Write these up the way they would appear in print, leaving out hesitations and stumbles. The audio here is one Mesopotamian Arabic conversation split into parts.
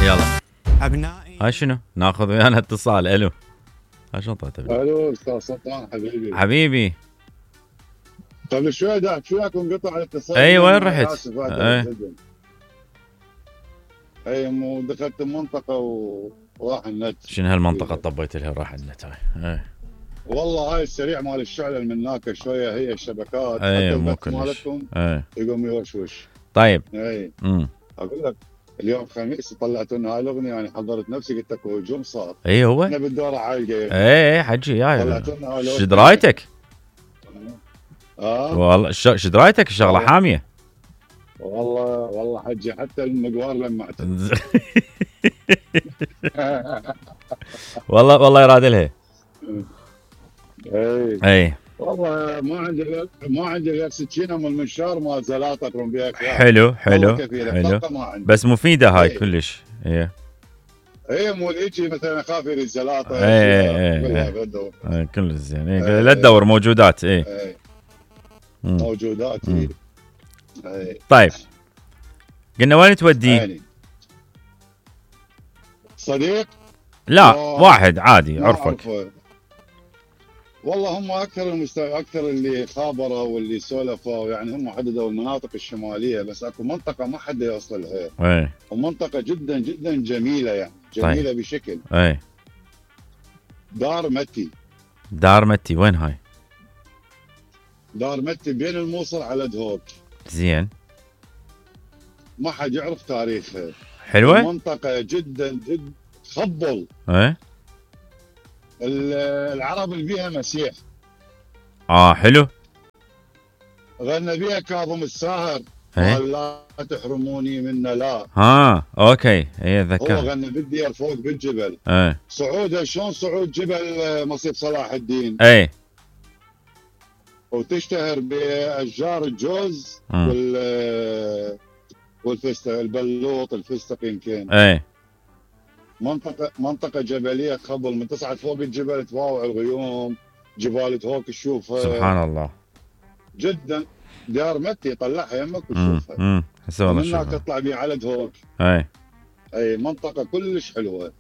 يلا أبنائي. هاي شنو؟ ناخذ ويانا اتصال. الو هاي شنو طلعت؟ الو استاذ سلطان حبيبي قبل شوي دعت وياك وانقطع الاتصال. اي وين رحت؟ اي مو دخلت المنطقه وراح النت. شنو هالمنطقه طبيت لها راح النت هاي؟ والله هاي السريع مال الشعلة من هناك شويه هي الشبكات اي حتى مو البث كلش مالتكم يقوم يوشوش. طيب اي اقول لك اليوم خميس طلعت لنا هاي الاغنيه يعني حضرت نفسي قلت لك هجوم صار. اي هو احنا بالدوره عالقه. اي حجي يا طلعت لنا هاي شو درايتك؟ والله شو درايتك الشغله حاميه. والله حجي حتى المقوار لما والله يراد لها. اي والله ما عندي غير سكينه من المنشار مال زلاطه اكرم بها. حلو بس مفيده هاي كلش. اي مو هيجي مثلا اخاف يريد زلاطه. اي كلش زين. لا تدور موجودات. موجودات. طيب قلنا وين تودي؟ صديق؟ لا واحد عادي عرفك. والله هم اكثر اللي خابروا واللي سولفوا يعني هم حددوا المناطق الشماليه بس اكو منطقه ما حد يوصل لها. ومنطقه جدا جدا جميله يعني جميله. طيب. بشكل. دار متي وين هاي؟ دار متي بين الموصل على دهوك. زين. ما حد يعرف تاريخها. حلوه. منطقه جدا جدا تخبل. العرب اللي بيها مسيح. حلو. غنى بيها كاظم الساهر. قال لا تحرموني منا لا. اوكي اتذكر. هو غنى بالديار فوق بالجبل. صعودها شلون صعود جبل مصيف صلاح الدين. وتشتهر باشجار الجوز والفستق البلوط الفستق يمكن. منطقة جبلية تخبل من تصعد فوق الجبل تواوع الغيوم جبال دهوك تشوفها. سبحان الله. جدا. دار متي طلعها يمك وتشوفها. من هناك تطلع بيه على دهوك. اي منطقة كلش حلوة.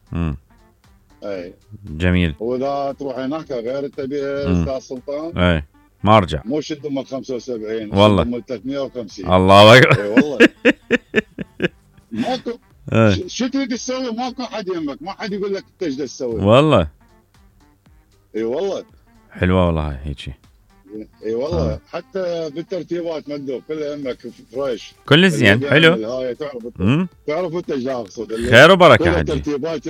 جميل. واذا تروح هناك غير تبي استاذ سلطان. ما ارجع. مو شد ام 75 والله. شد ام 350. الله اكبر. والله. ماكو. شو تريد تسوي؟ ماكو حد يمك، ما حد يقول لك انت ايش تسوي. والله. اي والله. حلوه والله هاي هيجي. اي والله. حتى بالترتيبات مندوب كلها يمك فريش. كل زين حلو. هاي تعرف انت ايش اقصد. خير وبركه حجي. ترتيبات.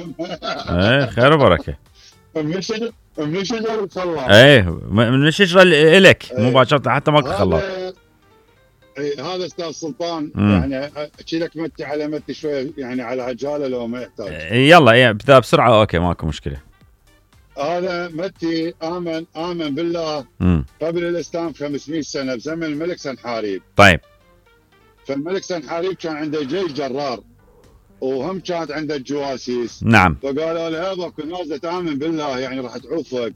خير وبركه. من الشجر تطلع. من الشجره الك مباشره حتى ماكو خلاط. هذا استاذ سلطان يعني احكي لك متي على متي شويه يعني على عجاله لو ما يحتاج. يلا بسرعه. اوكي ماكو مشكله. هذا متي امن بالله قبل الاسلام 500 سنه بزمن الملك سنحاريب. طيب. فالملك سنحاريب كان عنده جيش جرار وهم كانت عنده الجواسيس. نعم. فقالوا له هذا اكو ناس تامن بالله يعني راح تعوفك.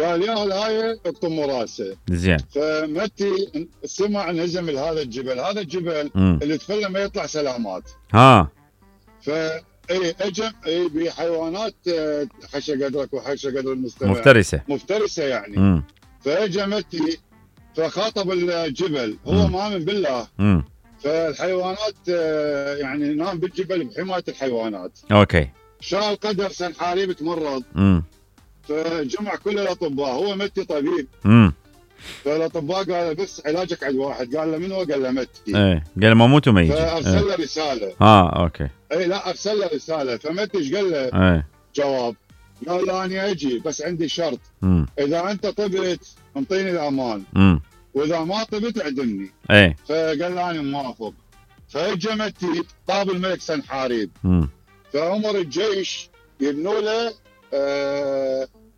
قال يا هاي اقطم راسه. زين. فمتي سمع نزم هذا الجبل. هذا الجبل اللي تفله ما يطلع سلامات. اجى بحيوانات حشى قدرك وحشى قدر المستمع. مفترسه يعني. فاجى متي فخاطب الجبل هو مؤمن بالله. فالحيوانات يعني نام بالجبل بحمايه الحيوانات. اوكي. شاء القدر سنحاريب تمرض. فجمع كل الاطباء. هو متي طبيب. فالاطباء قالوا بس علاجك عند واحد. قال له من هو؟ قال له متي. قال له ما موت وما يجي. فارسل له رساله. اوكي. لا ارسل له رساله. فمتي ايش قال له؟ جواب. قال له انا اجي بس عندي شرط. اذا انت طبت انطيني الامان. واذا ما طبت اعدمني. فقال له انا موافق. فاجى متي طاب الملك سنحاريب. فامر الجيش يبنوا له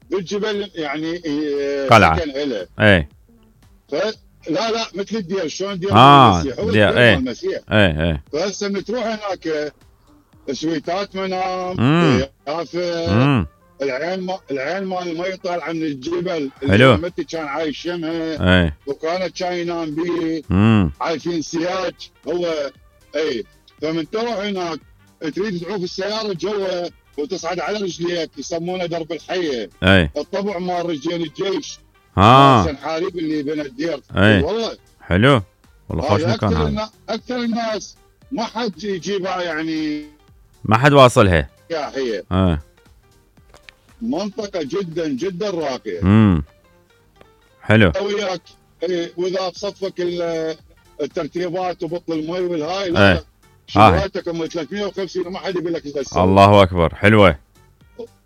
بالجبل يعني قلعه. لا مثل الدير. شلون دير المسيح؟ هو دير المسيح. فهسه من تروح هناك سويتات منام يافه. العين مال المي طالعه من الجبل. حلو. متي كان عايش يمها. وكانت كان ينام بيه. عايشين سياج هو. فمن تروح هناك تريد تعوف السياره جوا وتصعد على رجليك، يسمونه درب الحيه. اي الطبع مال رجال الجيش. حارب اللي بين الدير. والله حلو والله، خوش مكان هذا. اكثر الناس ما حد يجيبها، يعني ما حد واصلها. هي منطقه جدا جدا راقيه. حلو. وياك واذا بصفك الترتيبات وبطل المي والهاي، لا شغلاتك ام 350 وما حد يقول لك ايش تسوي. الله اكبر، حلوه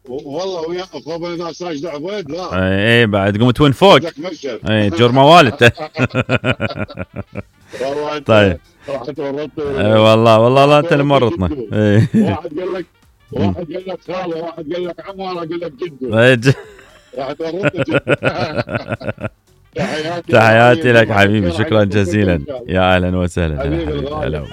والله. ويا خوفا اذا ساجد عبيد لا اي بعد قمت وين فوق. اي جرمه والد. طيب والله لا انت اللي مرتنا. واحد قال لك خاله، واحد قال لك عمه، واحد قال لك جده. راح تورطني. تحياتي لك حبيبي، شكرا جزيلا، يا اهلا وسهلا. حبيبي الغالي.